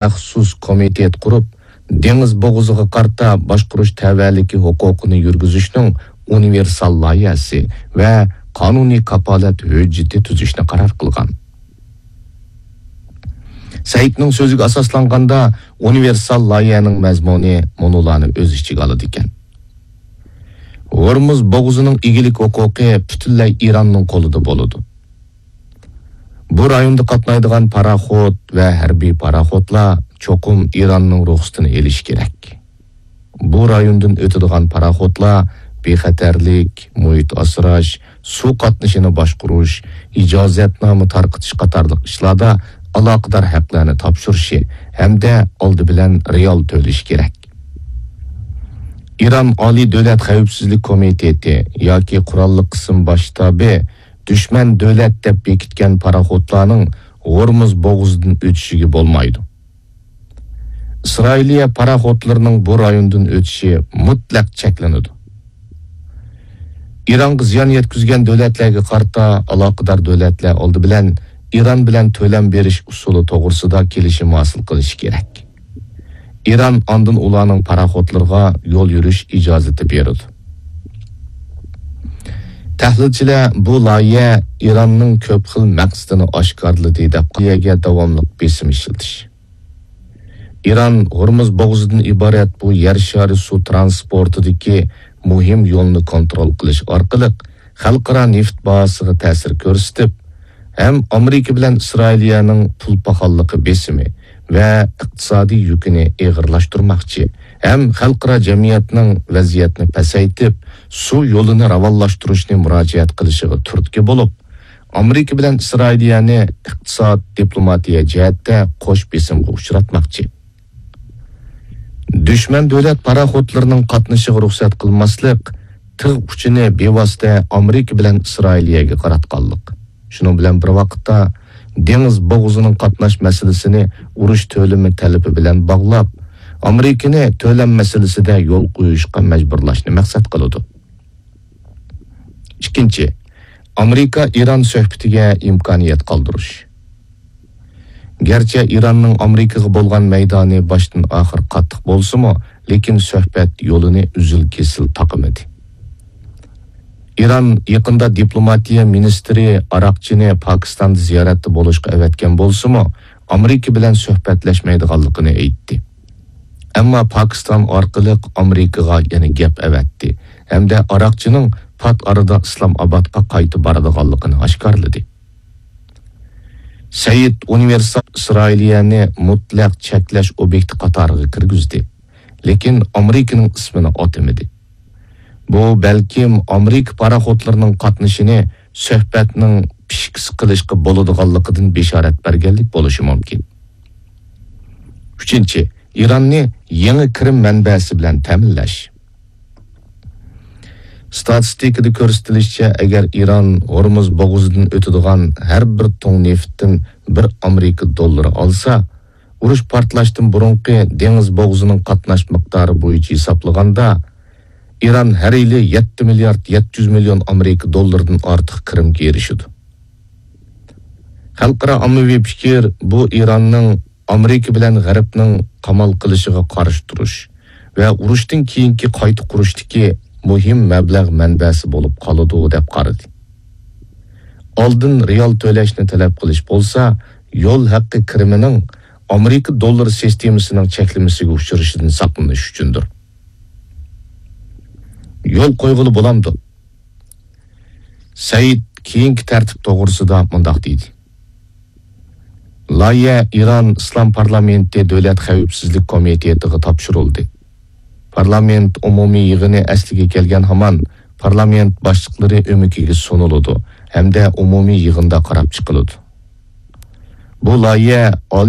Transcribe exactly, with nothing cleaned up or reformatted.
مەخسۇس كومىتېت قۇرۇپ، دېڭىز بوغۇزىغا قارىتا باشقۇرۇش تەۋەلىكى ھوقۇقىنى يۈرگۈزۈشنىڭ ئۇنىۋېرسال لايىھەسى ۋە قانۇنىي كاپالەت ھۆججىتى تۈزۈشنى قارار قىلغان. سەئىدنىڭ سۆزىگە ئاساسلانغاندا، ئۇنىۋېرسال لايىھەنىڭ مەزمۇنى مۇنۇلارنى ئۆز ئىچىگە ئالىدىكەن. ھورمۇز بوغۇزىنىڭ ئىگىلىك ھوقۇقى پۈتۈنلەي ئىراننىڭ قولىدا بولىدۇ. بۇ رايوندا قاتنايدىغان پاراخوت ۋە ھەربىي پاراخوتلار چوقۇم ئىراننىڭ رۇخسىتىنى ئېلىشى كېرەك. بۇ رايوندىن ئۆتىدىغان پاراخوتلار بىخەتەرلىك، مۇھىت ئاسراش، سۇ قاتنىشىنى باشقۇرۇش، ئىجازەتنامە تارقىتىش قاتارلىق ئىشلاردا ئالاقىدار ھەقلەرنى تاپشۇرۇشى ھەمدە ئالدى بىلەن رېئال تۆلىشى كېرەك. ئىران ئالىي دۆلەت خەۋپسىزلىك كومىتېتى ياكى قوراللىق قىسىم باش شتابى دۈشمەن دۆلەت دەپ بېكىتكەن پاراخوتلارنىڭ ھورمۇز بوغۇزىدىن ئۆتۈشىگە بولمايدۇ. ئىسرائىلىيە پاراخوتلىرىنىڭ بۇ رايوندىن ئۆتۈشى مۇتلەق چەكلىنىدۇ. ئىرانغا زىيان يەتكۈزگەن دۆلەتلەرگە قارىتا ئالاقىدار دۆلەتلەر ئالدى بىلەن ئىران بىلەن تۆلەم بېرىش ئۇسۇلى توغرىسىدا كېلىشىم ھاسىل قىلىشى كېرەك. ئىران ئاندىن ئۇلارنىڭ پاراخوتلىرىغا يول يۈرۈش ئىجازىتى بېرىدۇ. تەھلىلچىلەر بۇ لايىھە ئىراننىڭ كۆپ خىل مەقسىتىنى ئاشكارىلىدى دەپ، لايىھەگە داۋاملىق بېسىم ئىشلىتىش. ئىران ھورمۇز بوغۇزىدىن ئىبارەت بۇ يەر شارى سۇ ترانسپورتىدىكى مۇھىم يولنى كونترول قىلىش ئارقىلىق خەلقئارا نېفىت باھاسىغا تەسىر كۆرسىتىپ، ھەم ئامېرىكا بىلەن ئىسرائىلىيەنىڭ پۇل پاخاللىقى بېسىمى ۋە ئىقتىسادىي يۈكىنى ئېغىرلاشتۇرماقچى، ھەم خەلقئارا جەمئىيەتنىڭ ۋەزىيەتنى پەسەيتىپ، سۇ يولىنى راۋانلاشتۇرۇشنى مۇراجىئەت قىلىشىغا تۈرتكە بولۇپ، ئامېرىكا بىلەن ئىسرائىلىيەنى ئىقتىساد، دىپلوماتىيە جەھەتتە قوش بېسىمغا ئۇچراتماقچى. دۈشمەن دۆلەت پاراخوتلىرىنىڭ قاتنىشىغا رۇخسەت قىلماسلىق تىغ ئۇچىنى بىۋاسىتە ئامېرىكا بىلەن ئىسرائىلىيەگە قاراتقانلىق. شۇنىڭ بىلەن بىر ۋاقىتتا، دېڭىز بوغۇزىنىڭ قاتناش مەسىلىسىنى ئۇرۇش تۆلىمى تەلىپى بىلەن باغلاپ، ئامېرىكىنى تۆلەم مەسىلىسىدە يول قويۇشقا مەجبۇرلاشنى مەقسەت قىلىدۇ. ئىككىنچى، ئامېرىكا ئىران سۆھبىتىگە ئىمكانىيەت قالدۇرۇش. گەرچە ئىراننىڭ ئامېرىكىغا بولغان مەيدانى باشتىن ئاخىر قاتتىق بولسىمۇ، لېكىن سۆھبەت يولىنى ئۈزۈل-كېسىل تاقىمىدى. ئىران يېقىندا دىپلوماتىيە مىنىستىرى ئاراقچىنى پاكىستاندا زىيارەتتە بولۇشقا ئەۋەتكەن بولسىمۇ، ئامېرىكا بىلەن سۆھبەتلەشمەيدىغانلىقىنى ئېيتتى. ئەمما پاكىستان ئارقىلىق ئامېرىكىغا يەنە گەپ ئەۋەتتى ھەمدە ئاراقچىنىڭ پات ئارىدا ئىسلام ئابادقا قايتا بارىدىغانلىقىنى ئاشكارىلىدى. سەئىد ئۇنىۋېرسال ئىسرائىلىيەنى مۇتلەق چەكلەش ئوبيېكتى قاتارىغا كىرگۈزدى، لېكىن ئامېرىكىنىڭ ئىسمىنى ئاتىمىدى. بۇ بەلكىم ئامېرىكا پاراخوتلىرىنىڭ قاتنىشىنى سۆھبەتنىڭ پىشكىسى قىلىشقا بولىدىغانلىقىدىن بېشارەت بەرگەنلىك بولۇشى مۇمكىن. ئۈچىنچى، ئىراننى يېڭى كىرىم مەنبەسى بىلەن تەمىنلەش. ستاتىستىكىدا كۆرسىتىلىشىچە، ئەگەر ئىران ھورمۇز بوغۇزىدىن ئۆتىدىغان ھەر بىر تۇڭ نېفىتتىن بىر ئامېرىكا دوللىرى ئالسا، ئۇرۇش پارتلاشتىن بۇرۇنقى دېڭىز بوغۇزىنىڭ قاتناش مىقدارى بويىچە ھېسابلىغاندا، ئىران ھەر يىلى يەتتە مىليارد يەتتە يۈز مىليون ئامېرىكا دوللىرىدىن ئارتۇق كىرىمگە ئېرىشىدۇ. خەلقئارا ئاممىۋى پىكىر بۇ ئىراننىڭ ئامېرىكا بىلەن غەربنىڭ قامال قىلىشىغا قارشى تۇرۇش ۋە ئۇرۇشتىن كېيىنكى قايتا قۇرۇشتىكى مۇھىم مەبلەغ مەنبەسى بولۇپ قالىدۇ، دەپ قارىدى. ئالدىن رېئال تۆلەشنى تەلەپ قىلىش بولسا، يول ھەققى كىرىمىنىڭ ئامېرىكا دوللىرى سىستېمىسىنىڭ چەكلىمىسىگە ئۇچرىشىدىن ساقلىنىش ئۈچۈندۇر. يول قويغىلى بولامدۇ؟ سەئىد كېيىنكى تەرتىپ توغرىسىدا مۇنداق دېدى: لايىھە ئىران ئىسلام پارلامېنتى دۆلەت خەۋپسىزلىك كومىتېتىغا تاپشۇرۇلدى. پارلامېنت ئومۇمىي يىغىنى ئەسلىگە كەلگەن ھامان، پارلامېنت باشلىقلىرى ئۆمىكىگە سۇنۇلىدۇ ھەمدە ئومۇمىي يىغىندا قاراپ چىقىلىدۇ. بۇ لايىھە ئالىي